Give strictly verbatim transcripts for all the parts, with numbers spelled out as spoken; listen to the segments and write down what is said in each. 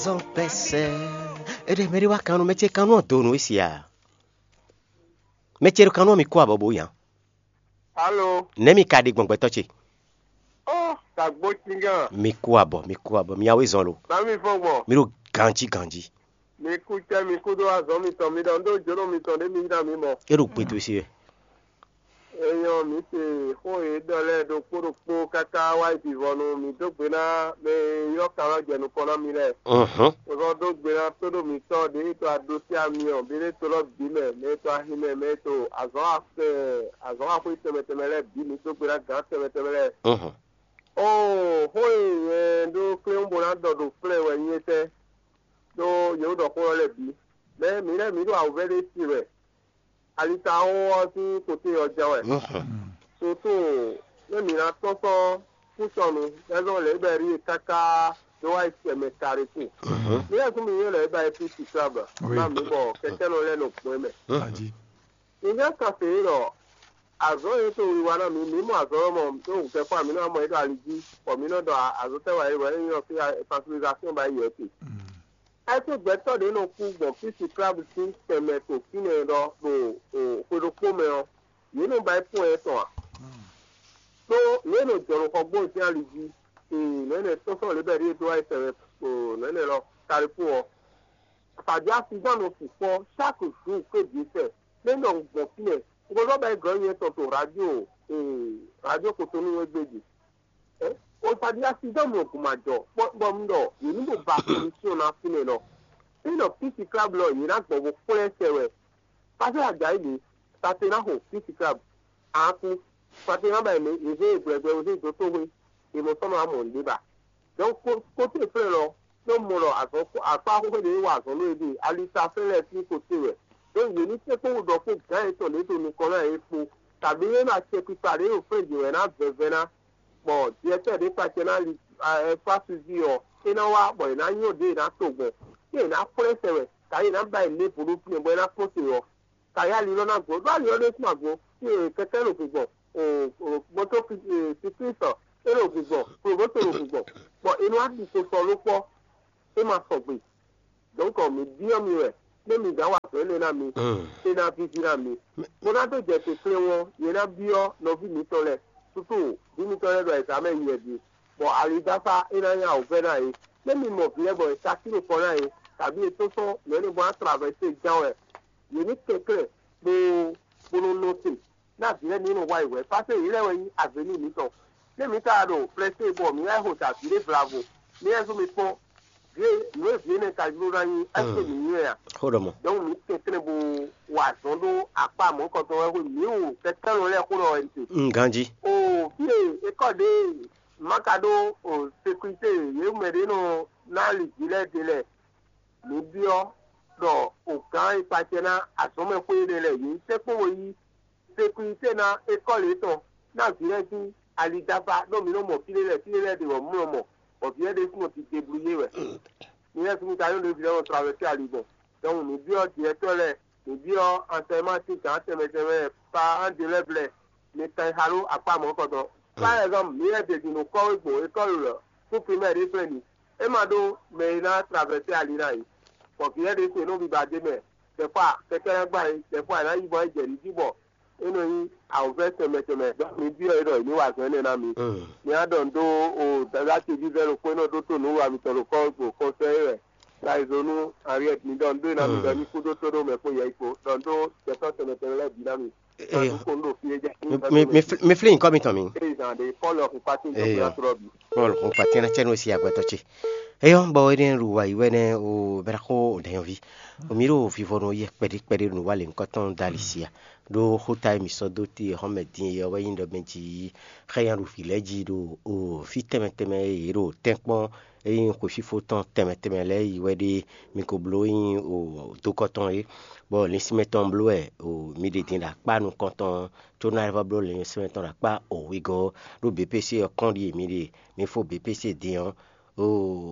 Zɔn pɛsɛ. Eɖe mɛ ɖé wá kan nú mɛ ce kan nú ɔ́ do nǔ e si a? Mɛ ce ɖo kan nú ɔ́ mi kú abɔ bó nya. Alo. Nɛ̌ mi ka ɖe gbɔn gbɛtɔ́ ce? Ó, tagbo cingán. Mi kú abɔ, mi kú abɔ, mi awe zɔn lo. Bá mi fɔn gbɔn. Mi ɖo ganjí ganjí. Mi kú cɛ, mi kú dó azɔn mitɔn, mi ɖɔ un ɖó jǒnɔ mitɔn ɖé mi yí ná mi mɔ. É ɖo gbedo si wɛ. Enyɔ mi se xó e ɖɔ lɛ́ɛ ɖokpó ɖokpó káká wá yi vivɔnu mi dó gbe ná mɛ e ylɔ́ kan ɔ́ jɛ nukɔn ná mi lɛ́ɛ. Xozɔ́ dó gbe ná tóɖó mitɔ́ ɖě e to aɖosí amyɔ, ɖě e to lɔ bǐ mɛ, mɛ e to ahin mɛ, mɛ e to azɔ̌ azɔ̌ axwé tɛnmɛ tɛnmɛ lɛ́ɛ bǐ, mi dó gbe ná gǎn tɛnmɛ tɛnmɛ lɛ́ɛ. Oo, xó e nyɛ ɖó kléwún bó ná ɖɔ ɖo flɛ́ wɛ nyí étɛ́, ɖó yě ɖɔ xó ɔ́ lɛ́ɛ bǐ. Mɛ mǐ lɛ́ɛ mǐ ɖo awǔvɛ́ ɖé si wɛ. Alitaxo ɔ́ sín kote ɔ́ jɛ́n wɛ. Susu nú mǐ ná tɔ́n sɔ́ kúsɔnu lɛ́ zɔn lě bɔ é ɖíe káká dó wá yi sɛ mɛ Kariku. Mǐ lɛ́ kún mi nyɔ́ lɛ̌ ba é fí Siklab ná mǐ bɔ kɛkɛ́nɔ lɛ́ɛ nɔ gbɔn mɛ. Mǐ jɛ́n kan fě ɖɔ azɔ̌ e to wiwa ná mǐ, mǐ mɔ azɔ̌ ɔ́ mɔ ɖó wǔkɛ́kpá mǐ nɔ mɔ é ɖo ali jí, bɔ mǐ nɔ ɖɔ azɔ̌ tɛ́ wǎ é wɛ é nyí ɔ́ fí fasilizasɔ́n ba yi wɛ te. Ɛ́ gbɛtɔ́ ɖě nɔ kú gbɔn fí Siklab sín tɛnmɛ to fínɛ́ ɖɔ ɖo xwe ɖokpó mɛ ɔ́, yě nɔ ba yi kpɔ́n ɛ tɔn a? Ɖó yě nɔ jɔ nɔ xɔ gbɔn sín ali jí, nɔ̌ énɛ́ tɔ́n sɔ́ lě bɔ é ɖíe dó wá yi tɛnmɛ nɔ̌ énɛ́ lɔ Kalifu ɔ́. Fǎjá Sizán nɔ sukpɔ́ sáki zǔ kwé bǐ sɛ, nɛ́ nɔ gbɔn fínɛ́. Un ko zɔ́n ba yi gɔ̌ nyɛ tɔn to radio radio Kotonu égbé jí. Osadíyá Sidɔ́ɔn mɔ gǔmajɔ bɔ un ɖɔ yě ní ɖo ba komisyɔn ná fínɛ́ lɔ. Ényí ɖɔ písi kláblɔ yě ná gbɔ bó xwlɛ́ sɛ wɛ. Pásɛ́ Ajayi ɖě, Satenáxo písi kláb, Aankú, Satená ba yě mɛ yě zé yě gbɛgbɛ bó zé dó tóxwé, yě mɔ sɔ́ nɔ wá mɔ nǔɖé ba. Donc côté flɛ́ lɔ, ɖó mɔ ɖɔ azɔn akpá xóxó ɖě wa azɔn nú yě ɖe ali ta flɛ́ lɛ́ɛ sín côté wɛ. Donc yě ní sɛ́kpɔ́ ɖɔ kpó gǎn yětɔn ɖě ɖo nukɔn ná yě kpó, kabǐ é ná acɛkpikpa ɖě ɖo flɛ́ jǐ wɛ ná vɛvɛ ná. Bɔ directeur ɖě kpacɛ ná li ɛfásuzi ɔ́, é ná wá bɔ è nǎ nyɔ ɖě è nǎ to gbɔn, ɖé è nǎ xwlɛ́ sɛ wɛ, kǎ è nǎ ba ɛ nǔɖé vo ɖó fínɛ́ bɔ é ná kpɔ́n te ɔ́, kǎ yá ali lɔ ná gbo, ɖó ali ɔ́ ɖésú ná gbo, kɛkɛ́ ɖo gbigbɔn, mɔtó siklísɔ é ɖo gbigbɔn, kloboto ɖo gbigbɔn, bɔ è nɔ wá ɖi ko sɔ ló kpɔ́, é ma sɔgbe. Donc mǐ byɔ́ mi wɛ, nú mi gǎn wa azɔ̌ énɛ́ ná mi, é ná víví ná mi. Bó ná dó jɛ te kplé wɔn, nyɛ ná byɔ́ nɔví mǐtɔn lɛ́ɛ, susu vǐ mitɔn lɛ́ɛ ɖo ayǐzá mɛ yi wɛ din, bɔ alidáfá é ná nyí awǔvɛ́ ná yě. Nú mi mɔ vǐ lɛ́ɛ bɔ è sa kí nukɔn ná yě, kabǐ è tɔ́n sɔ́ nǔ énɛ́ bó ná tlɔ avɔ e se gán wɛ, yě ní kɛnklɛ́n bó bó nɔ nɔ te. Ná vǐ lɛ́ɛ ní nɔ wa yi hwɛ̌, pásé yě lɛ́ɛ wɛ nyí avě nú mǐtɔn. Nú mǐ ka ɖo flɛ́sé bɔ mǐ wá xo ta vǐ ɖé vlavo, mǐ wɛ zɔ́n mi kpɔ́n, vǐ e nǔ e vǐ énɛ́ ka jló ná nyí, ɛ́seke mǐ nyí wɛ a? Xó ɖɔ mɔ. Donc mǐ kɛnklɛ́n bó wa azɔn ɖó akpá mɔ̌kɔtɔn wɛ xwe mǐ wo kɛkɛ́nɔ lɛ́ɛ xó ɖɔ wɛ un te. Un ganjí. O fí e é kɔ ɖě má ka ɖó sécurité yě mɛ ɖě nɔ ná li vǐ lɛ́ɛ ɖe lɛ́ɛ, mǐ byɔ́ ɖɔ o gǎn e kpacɛ ná azɔ̌mɛxwé énɛ́ lɛ́ɛ yě sɛ́kpɔ́ bo yí sécurité ná ékɔ́li yětɔn ná vǐ lɛ́ɛ sín alidáfá ɖó mǐ nɔ mɔ fí ɖé lɛ́ɛ fí ɖé lɛ́ɛ ɖe bɔ mǔ nɔ mɔ, bɔ vǐ lɛ́ɛ ɖésú nɔ ti deblouyé wɛ. Mi lɛ́ɛ sín ka nyɔ́ ɖě vǐ lɛ́ɛ nɔ travɛsé ali gbɔn. Donc mǐ byɔ́ directeur lɛ́ɛ, mǐ byɔ́ enseignement sín gǎn tɛnmɛ tɛnmɛ lɛ́ɛ, parents d'élèves lɛ́ɛ, mi kan yi xa ɖó akpá mɔ̌kɔtɔn. Par exemple, mǐ lɛ́ɛ ɖě din ɖo kɔ́ e gbɔn école lɔ, kú primaire ɖé flɛ́ mi, é ma ɖó mɛ e ná travɛsé ali ná yi, bɔ vǐ lɛ́ɛ ɖésú è nɔ biba d'é mɛ, des fois kɛkɛ́ ná gbá yě, des fois è nǎ yi bɔ é jɛ nǔ jí bɔ é nɔ nyí awǔvɛ́ tɛnmɛ tɛnmɛ. Donc mǐ byɔ́ yě ɖɔ è ní wa azɔ̌ énɛ́ ná mi. Mi wá ɖɔ nǔ dó o dada ce vívɛ́ ɖokpó e nɔ ɖótó nǔwiwa mitɔn ɖo kɔ́ ɖo kɔnsɛ́ é wɛ. Sayizo nú Henriette mi ɖɔ nǔ dó ná mi ɖɔ ní kúdó tóɖó mɛ kpó yɛ kpó ɖɔ nǔ dó jɛtɔ́ tɛnmɛ tɛnmɛ lɛ́ɛ bǐ ná mi. Ɖɔ nǔ ko nú ɖo fí é jɛ. Mi fli nyǐkɔ mitɔn mi. Eyi zan ɖe Pɔ́lu ɔkun kpátín dɔn Eya. Gbéra trɔ bǐ. Pɔ́lu kún kpatɛ́n ná cɛ nú si agbɛtɔ ce. Eyɔ bɔ énɛ́ ɖu wa yi wɛ nɛ́ o bɛ́ ná xó ɖɛ̌nyɔ́ví. O mi ɖo vivɔnu yɛ kpɛɖí kpɛɖí ɖo nǔ wa lě ŋkɔ tɔn dali sia. Ɖó xóta e mǐ sɔ́ dó te xɔ́mɛ din é ɔ́ wɛ nyí ɖɔ mɛ jí xɛ́ nyaɖuví lɛ́ɛ jí ɖo o fí tɛnmɛ tɛnmɛ e yě ɖo tɛ́nkpɔ́n e nyí xwefífó tɔn tɛnmɛ tɛnmɛ lɛ́ɛ yi wɛ ɖe mi ko bló nyí o dokɔ tɔn é, bɔ lǐnsinmɛ tɔn bló wɛ o mi ɖe din ɖo akpá nukɔn tɔn có ná lɛ́ vɔ́ bló lǐnsinmɛ tɔn ɖo akpá o wegɔ́ ɔ́, ɖó B P C ɔ́ kɔn ɖíe mi ɖe mi fó B P C din ɔ́, o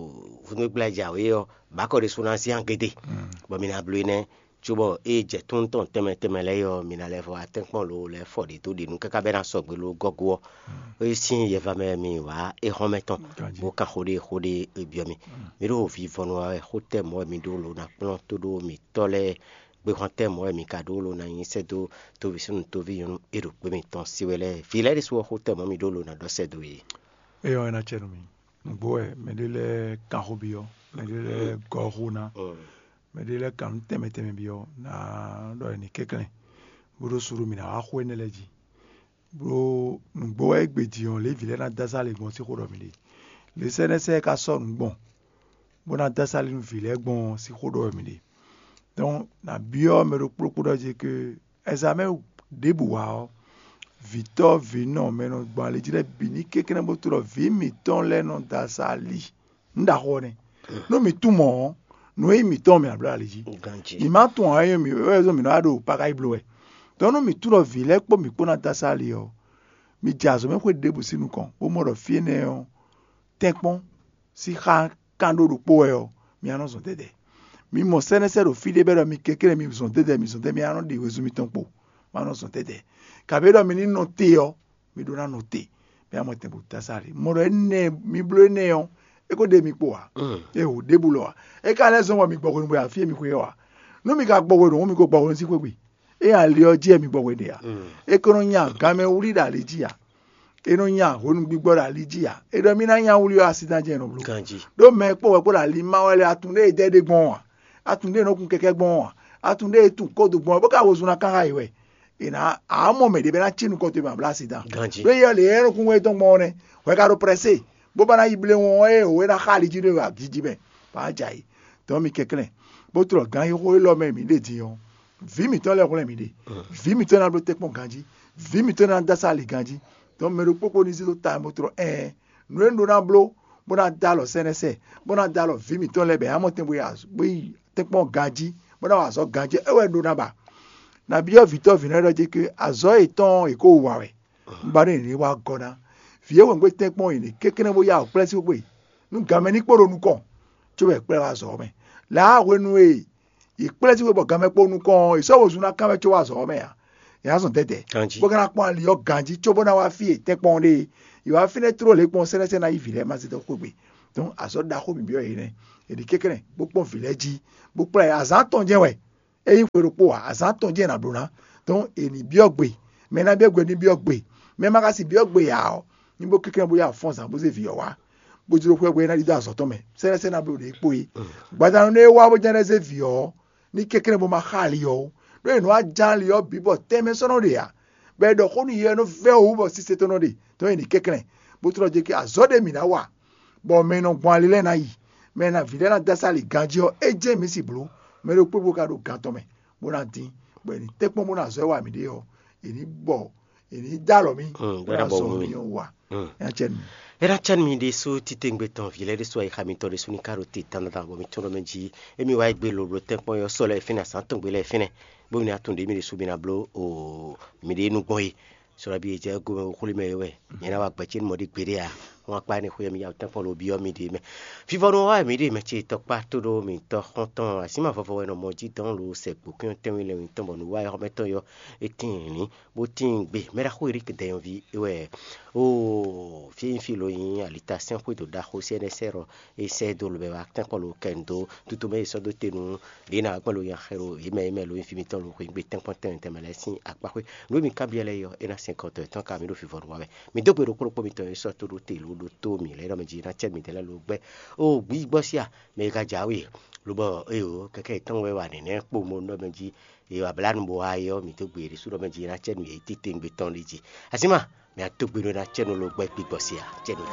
vúnúgbla jǎwe ɔ́, bǎkɔ ɖésú ná zán gédé, bɔ mi ná bló énɛ́. Cóbɔ ée jɛ tún tɔn tɛnmɛ tɛnmɛ lɛ́ɛ ɔ́, mi ná lɛ́ vɔ wá tɛ́nkpɔ́n lo lɛ́ fɔ ɖě dó ɖě nú káká bɛ́ ná sɔgbe lo gɔ́ gú ɔ́, é sín yɛva mɛ mi wá é hɔn mɛ tɔn, bó kan xó ɖé xó ɖé é byɔ́ mì. Mi ɖo vivɔnu wa wɛ, xó tɛ́ mɔ̌ wɛ mi ɖó lo ná kplɔ́n tó ɖó mitɔ́ lɛ́ɛ, gbéhɔn tɛ́ mɔ̌ wɛ mi ka ɖó lo ná nyi sɛ́ dó tóví súnnu tóví nyɔ̌nu e ɖo gbé mitɔn se wɛ lɛ́ɛ. Vǐ lɛ́ɛ ɖésú ɔ́, xó tɛ́ mɔ̌ mi ɖó lo ná ɖɔ sɛ́ dó yě. Éyɔ́ é ná cɛ nú mi. Nǔgbó wɛ mɛɖé lɛ́ɛ kan xó byɔ́, mɛɖé lɛ́ɛ gɔ́ xó ná, mɛɖé lɛ́ɛ kan nǔ tɛnmɛ tɛnmɛ byɔ́, ná ɖɔ è nǐ kɛnklɛ́n, bó ɖó suɖu mǐ ná wá xó énɛ́ lɛ́ɛ jí. Ɖó nǔgbó wɛ égbé din ɔ́, lě vǐ lɛ́ɛ ná dó asá lě gbɔn sín xó ɖɔ mǐ ɖe. Lě sɛ́ nɛ́ sɛ́ é ka sɔ́ nǔ gbɔn, bó ná dó asá lě nú vǐ lɛ́ɛ gbɔn ɔ́ sín xó ɖɔ wɛ mǐ ɖe. Dɔn nǎ byɔ́ mɛ ɖokpó ɖokpó ɖɔ jí ke ɛzamɛ ɖěbǔ wa ɔ́, vǐtɔ́ vǐnɔ mɛ e nɔ gbɔn ali jí lɛ́ɛ bǐ ní kɛnklɛ́n bó tlɔ́ vǐ mǐtɔn lɛ́ɛ nɔ dó asá ali. Nǔ ɖaxó ɔ́ nɛ́. Nú mǐ tunwun mɔ̌ ɔ́, nǔ e nyí mǐtɔn ɔ́, mǐ nǎ bló ali jí. Ganjí. Mǐ má tunwun ǎ, é nyí mǐ wɛ zɔ́n mǐ nɔ wá ɖo pakáyi bló wɛ. Dɔn nú mǐ tunwun ɖɔ vǐ lɛ́ɛ kpó mǐ kpó ná dó asá ali ɔ́, mi jɛ azɔ̌ mɛ xwé ɖěbǔ sín nukɔn, bó mɔ ɖɔ fí énɛ́ ɔ́, tɛ́nkpɔ́n sín xá kan ɖó ɖokpó wɛ ɔ́, mi ná nɔ zɔn dɛdɛ. Mi mɔ sɛ́nɛ́sɛ́ ɖo fí ɖé bɔ é ɖɔ mi kɛnklɛ́n mi zɔn dɛdɛ, mi zɔn dɛdɛ, mi ná nɔ ɖe wezun mitɔn kpo, ma nɔ zɔn dɛdɛ. Kabǐ ɖɔ mi ní nɔ te ɔ́, mi ɖó ná nɔ te, mi ná mɔ tɛn bó dó asá ɖe. Mɔ ɖɔ énɛ́ mi bló énɛ́ ɔ́, é ko ɖe mi kpo ǎ, é ho ɖěbǔ lɔ ǎ. É ka lɛ́ zɔ́n bɔ mi gbɔ hwenu bɔ e afí e mi xwe ɔ́ ǎ. Nú mi ka gbɔ hwenu hǔn, mi ko gbɔ hwenu sín xwé gbe. É ali ɔ́ jí wɛ mi gbɔ hwenu ǎ. É ko nɔ nya ganmɛ wlí ɖo ali jí ǎ. É nɔ nya hwenu gbigbɔ ɖo ali jí ǎ. É ɖɔ mì ná nya wlí ɔ́, asi tɔn jɛ́n è nɔ bló. Ganjí. Ɖó mɛ e kpó wɛ kpó ɖo ali má wɛ lɛ́ɛ, atun ɖé e dɛ ɖé gbɔn ɔ́ ǎ, atun ɖé e nɔ kun kɛkɛ́ gbɔn ɔ́ ǎ, atun ɖé e tunwun kódo gbɔn ɔ́, bó ka wezun ná kán xá yě wɛ. È nǎ ǎ mɔ mɛ ɖě bɔ é ná cí nukɔn towe bɔ a bló asi tɔn. Ganjí. Ɖó yɛ lě e é nɔ kun wɛ tɔn gbɔn ɔ́ nɛ́, hwɛ ka ɖo prɛ́sé, bó ba ná yi bléwún ɔ́, ée wǒ é ná xá ali jí ɖé wɛ agǐ jí mɛ, bɔ á jɛ ayǐ. Dɔn mi kɛnklɛ́n, bó tlɔ gǎn xixo élɔ́ mɛ e mǐ ɖe din ɔ́, vǐ mǐtɔn lɛ́ɛ hwlɛ́n mǐ ɖe. Vǐ mǐtɔn ná bló tɛ́nkpɔ́n ganjí, vǐ mǐtɔn ná dó asá ali ganjí. Dɔn mɛ ɖokpó kpó ní zé dó ta bó tlɔ ɛɛn, nǔ e un ɖó ná bló bó ná dó alɔ sɛ́nɛ́sɛ, bó ná dó alɔ vǐ mǐtɔn lɛ́ɛ bɔ yě ná mɔ tɛn bó yi az- bó yi tɛ́nkpɔ́n ganjí, bó ná wa azɔ̌ ganjí, é wɛ un ɖó ná ba. Nabí ɔ́ vǐ tɔ́ vǐ nɛ́ ɖɔ jí ké azɔ̌ yětɔn e yě ko wa wɛ, un ba nú yě ní wá gɔ́ ná. Vǐ e wěngbé tɛ́nkpɔ́n yě ní kɛnklɛ́n bó yá wǔ kplɛ́ sín xwé, nú ganmɛ ní kpo ɖo nukɔn, cóbɔ è kplá wá azɔ̌ ɔ́ mɛ. Lǎ hwenu e yě kplɛ́ sín xwé bɔ ganmɛ kpo nukɔn ɔ́, è sɔ́ wezun ná kán wɛ có wá azɔ̌ ɔ́ mɛ ǎ. È nǎ zɔn dɛdɛ. Ganjí. Bó ka ná kpɔ́n ali ɔ́ ganjí, cóbó ná wá fí e tɛ́nkpɔ́n ɖe é. È wá fínɛ́ tló lě kpɔ́n sɛ́nɛ́sɛ́n ná yí vǐ lɛ́ɛ ma zé dó xwé gbe. Dɔn azɔ̌ ɖaxó mǐ byɔ́ yě nɛ́. È ɖi kɛnklɛ́n, bó kpɔ́n vǐ lɛ́ɛ jí, bó kplá yě. Azǎn tɔn jɛ́n wɛ. É nyí xwe ɖokpó ǎ, azǎn tɔn jɛ́n è nǎ bló ná. Dɔn è nǐ byɔ́ gbe. Mɛ e ná byɔ́ gbe ní byɔ́ gbe. Mɛ e ma ka si byɔ́ gbe ǎ ɔ́, ní bó kɛnklɛ́n bó yá fɔ́n zǎn bó zé vǐ ɔ́ wá, bó jló xwɛ bó é ná ɖidó azɔ̌ tɔn mɛ. Sɛ́nɛ́sɛ́n ná bló ɖě kpó é. Gbadanu nú é wá bó jɛ́n lɛ́ zé vǐ ɔ́, ní kɛnklɛ́n bó ma xá ali ɔ́ ó. Ɖó è nɔ wá ján ali ɔ́ bǐ bɔ tɛnmɛ sɔ́ nɔ ɖe ǎ, bɔ è ɖɔ xó nú yɛ ɔ́ nɔ vɛ́ wǔ bɔ sise tɔn nɔ ɖe. Dɔn è nǐ kɛnklɛ́n, bó tlɔ́ jɛ kí azɔ̌ ɖé mǐ ná wa, bɔ mɛ e nɔ gbɔn ali lɛ́ɛ ná yi, mɛ e ná vǐ lɛ́ɛ ná dó asá ali ganjí ɔ́, é jɛ́n mǐ si blǒ. Mɛ ɖokpó ɖokpó ka ɖo gan tɔn mɛ, bó ná dín, bɔ è nǐ tɛ́nkpɔ́n bó ná azɔ̌ e wa mǐ ɖe ɔ́, è nǐ bɔ è nǐ dó alɔ mì, bó ná azɔ̌ mì ɔ́ wa. Nya cɛ nú mì. É ná cɛ́ nú mi ɖésú titewungbe tɔn vǐ lɛ́ɛ ɖésú ayixa mitɔn ɖésú ní ka ɖo te dandan bɔ mi tɔ́n ɖɔ mɛ jí. Émi wá yi gbe loblo tɛ́nkpɔ́n ɔ́ sɔ lɛ́ɛ fínɛ́ azǎn tɔn gbe lɛ́ɛ fínɛ́, bó mi ná tunwun ɖě mi ɖésú mi ná bló o miɖée nú gbɔn é. Sɔlɔ́ bí e jɛ gomɛ xwlí mɛ é wɛ. Nyɛ ná wa gbɛ̌ ce nú mɔ ɖé gbeɖé ǎ. Wọ́n akpá ní xwé mi ya tɛ́nkpɔ́n lo byɔ́ mi ɖě mɛ. Vivɔnu wá mǐ ɖe mɛ ce tɔkpá tó ɖó mǐtɔn xɔ́ntɔn asíma vɔvɔ wɛ nɔ mɔ jí dɔn lo sɛ gbǒkún tɛ́nwí lɛ́nwí tɔn bɔ nǔ wa xɔmɛtɔn yɔ é tíin lǐn, bó tíin gbe. Mɛ ɖaxó Erík dɛnyɔ́ví é wɛ. Oo, fí e nyí fí lo nyí alita sɛ́n xwédo ɖaxó C N S R ɔ́, é sɛ́ dó lobɛ wá tɛ́nkpɔ́n lo kɛ nu dó tutu mɛ e sɔ́ dó te nú ɖě ná gbɛ́ lo nya xɛ ɖo yě mɛ e mɛ lo nyí fí mitɔn lo xweyǐgbe tɛ́nkpɔ́n tɛnmɛ tɛnmɛ lɛ́ɛ sín akpá xwé. Nǔ e mi kanbyɔ́ lɛ́ɛ é ɔ́, é ná sɛn kɔ tɔn yětɔn ka mì ɖo vivɔnu wa wɛ. Mi dó gbe ɖokpó ɖokpó mitɔn e sɔ́ tó ɖó te lo ɖo tó mǐ lɛ́ɛ ɖɔ mɛ jí ná cɛ́ midɛɛ lɛ́ɛ lo gbɛ́. Oo, gbǐgbɔ́ sí a, mɛ e ka jǎwe, lobɔ éyo kɛkɛ yětɔn wɛ wa nɛ̌nɛ́ kpo mo ɖɔ mɛ jí. È wa blǎ nu bó wá é ɔ́, mǐ dó gbe ɖésú ɖɔ mɛ jí ná cɛ́ nǔ yě titewungbe tɔn ɖé jí. Asíma, mǐ a dó gbe ɖó ná cɛ́ nú lo gbɛ́ gbígbɔ se ǎ, cɛ́ nú